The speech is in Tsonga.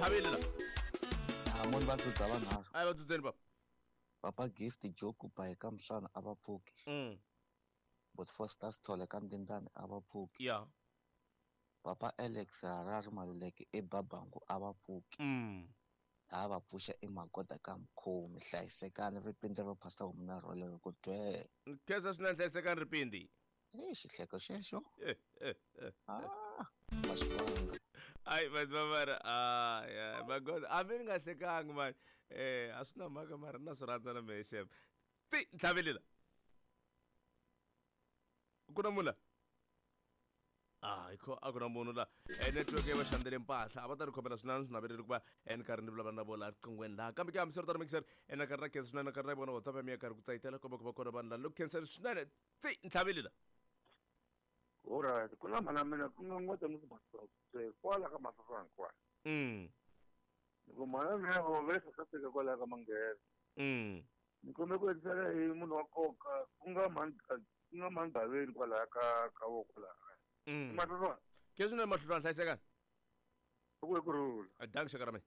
Ntlhavile la. Amoni va dzudza vanharhu. A va dzudzeni papa. Papa Gift Joku Bayi ka Mswana a va pfuki. But Foster Sithole ka Ndindani a va pfuki. Ya. Papa Alex Harare Maluleke eBabangu a va pfuki. Laha va pfuxa i magoda ka mkhomi hlayisekani ripindi ro phasa homu na rhole ri ku dwee. Khensa swinene hlayisekani ripindi. Eh xihleko xexo. Eh, eh, eh. Ah, va xi vanga. Ai vanhu va mara ay ay magoda hambi ni nga hlekangi mani eh a swi na mhaka mara na swi rhandza na mehe xem ti ntlhavelela ku na munhu la ah ikho a ku na munhu la eh, network yi va xandzele mpahla a va ta ni khomela swinene swi naveleli ku va eh, ni karhi ni vulavula na vona riqinghweni laha kambe ke hambiswiritano mixer eh, na karhi na khensa swinene na karhi na vona WhatsApp ya mina ya karhi ku tsayitela komba ku va kona vanhu la loko khenseni swinene tsi ntlhaveli la. Alright, ku na mhana mina ku nga ngota ni ku kwala ka Mafafani kwala. Loko mhana mina vo ve South Africa kwala ka Manghena. Ni kombe ku endlisela hi munhu wa nkoka ku nga mhani ku nga mhani Gaveni kwalaya ka ka vo kwalaya. Mafafani. Ke swinene mahlulwana hlayisekani. Ku ku rhula. Danki xaka ra mina.